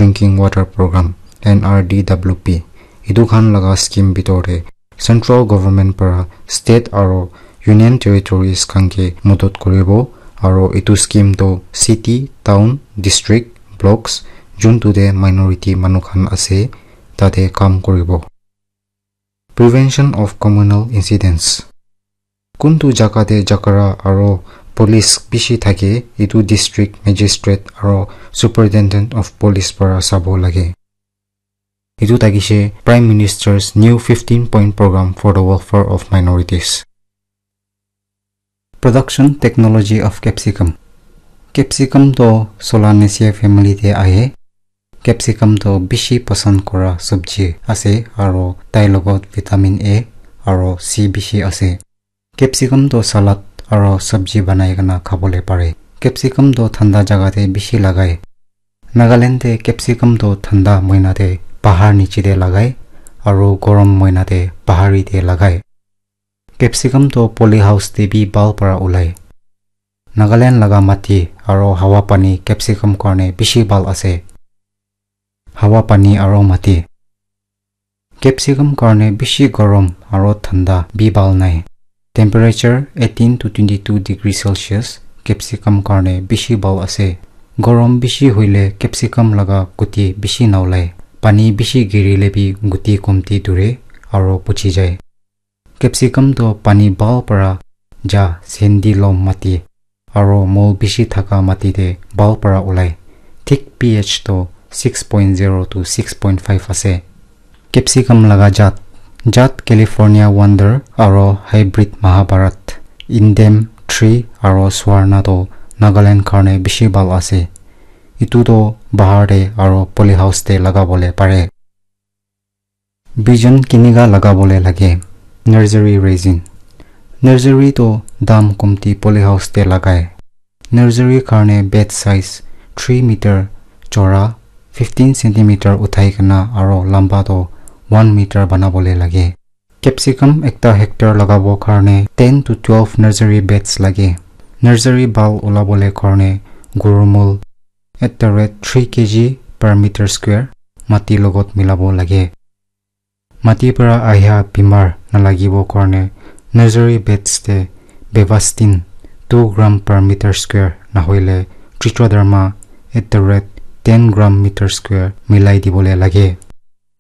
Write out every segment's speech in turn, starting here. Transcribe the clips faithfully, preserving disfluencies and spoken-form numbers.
Drinking Water Program, N R D W P, etu khan laga scheme bitor te central government para state aro union territories khan ke modot kuribo, aro etu scheme to city, town, district, blocks, juntu te minority manu khan ase, tate kam kuribo. Prevention of communal incidents. Kuntu jaga te jhagara aro police bishi thake, etu district magistrate aro superintendent of police para sabo lage. Etu thakishe Prime Minister's new fifteen point program for the welfare of minorities. Production technology of capsicum. Capsicum to Solanaceae family te ahe. Capsicum to bishi pasand kora sabji ase aro tai logot vitamin A aro C bishi ase. Capsicum to salad aro sabji banai kena khabole pare. Capsicum to thanda jaga te bishi lagai. Nagaland te capsicum to thanda moina te pahar niche te lagai aro gorom moina te pahari te lagai. Capsicum to polyhouse te bi bhal para ulai. Nagaland laga mati aro hawa pani capsicum karne bishi bhal ase. Hawa pani aro mati. Capsicum karne bishi gorom aro thanda bi bhal nai. Temperature eighteen to twenty-two degree Celsius capsicum karne bishi bhal ase. Gorom bishi hoile capsicum laga guti bishi naulai. Pani bishi girile bi guti komti dure aro puchi jai. Capsicum to pani bhal para ja sandy loam mati aro mol bishi thaka mati te bhal para ulai. Thik pH to six point zero to six point five ase. Capsicum laga jat, jat California Wonder aro hybrid Mahabharat, Indem three aro Swarna to Nagaland karne bishi bhal ase. Etu to bahar te aro polyhouse te lagabole pare. Bijan kinika lagabole lage. Nursery raising. Nursery to dam komti polyhouse te lagai. Nursery karne bed size three meter chora, fifteen centimeter uthai kena aro lamba to one meter banabole lage. Capsicum ekta hectare lagabo karne ten to twelve nursery beds lage. Nursery bhal ulabole karne gurumul at the rate three K G per meter square mati logot milabo lage. Mati para ahia bimar nalagibo karne nursery beds te Bevastin two gram per meter square nahoile Trichoderma at the rate ten gram meter square milai dibole lage.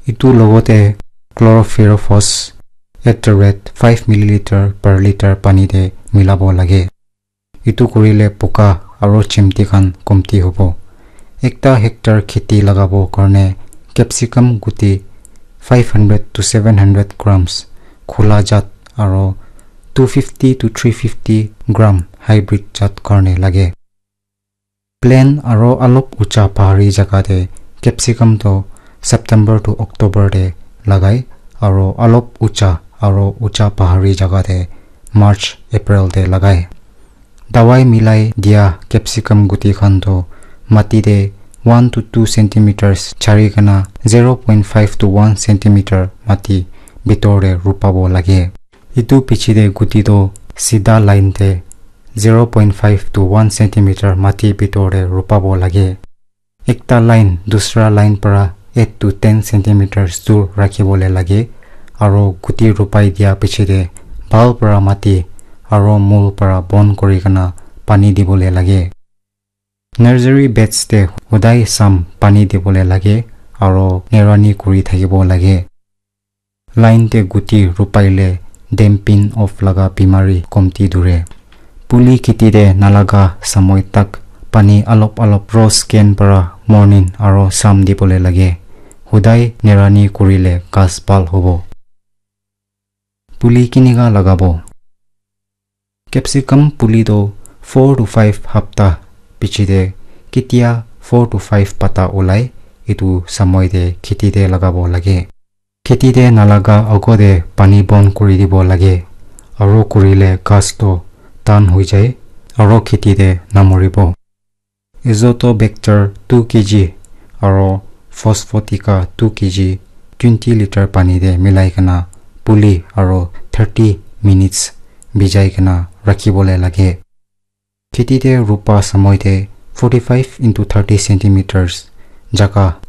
Etu logote Chlorophyrophos at the rate five milliliter per liter pani te milabo lage. Etu kurile poka aro chimti khan komti hobo. Ekta hectare kheti lagabo karne capsicum guti five hundred to seven hundred grams khula jat aro two fifty to three fifty gram hybrid jat karne lage. Plain aro alop ucha pahari jaga te capsicum to September to October te lagai aro alop ucha aro ucha pahari jaga te March, April te lagai. Dawai milai dia capsicum guti khan to mati te one to two centimeters chari kena zero point five to one centimeter mati bitor te rupabo lage. Etu piche te guti to sida line te zero point five to one centimeter mati bitor te rupabo lage. Ekta line dusra line para eight to ten centimeters dur rakhibole lage, aro guti rupai dia piche te bhal para mati aro mul para bon kuri kena pani dibole lage. Nursery beds te hodai sam pani dibole lage aro nerani kuri thakibo lage. Line te guti rupai le damping off laga bimari komti dure. Puli kheti te nalaga samoi tak pani alop alop rose ken para morning aro sam dibole lage. Hodai nerani kurile ghas bhal hobo. Puli kinika lagabo. Capsicum puli to four to five hapta piche te ketia four to five pata ulai, etu samoi te kheti te lagabo lage. Kheti te nalaga agote pani bon kuri dibo lage, aro kurile ghas to tan hoi jai, aro kheti te namoribo. Azotobacter two K G aro Phosphotica two K G twenty liter pani te milai kena puli aro thirty minutes bijai kena rakhibole lage. Kheti te rupa samoi te forty-five into thirty centimeters jaga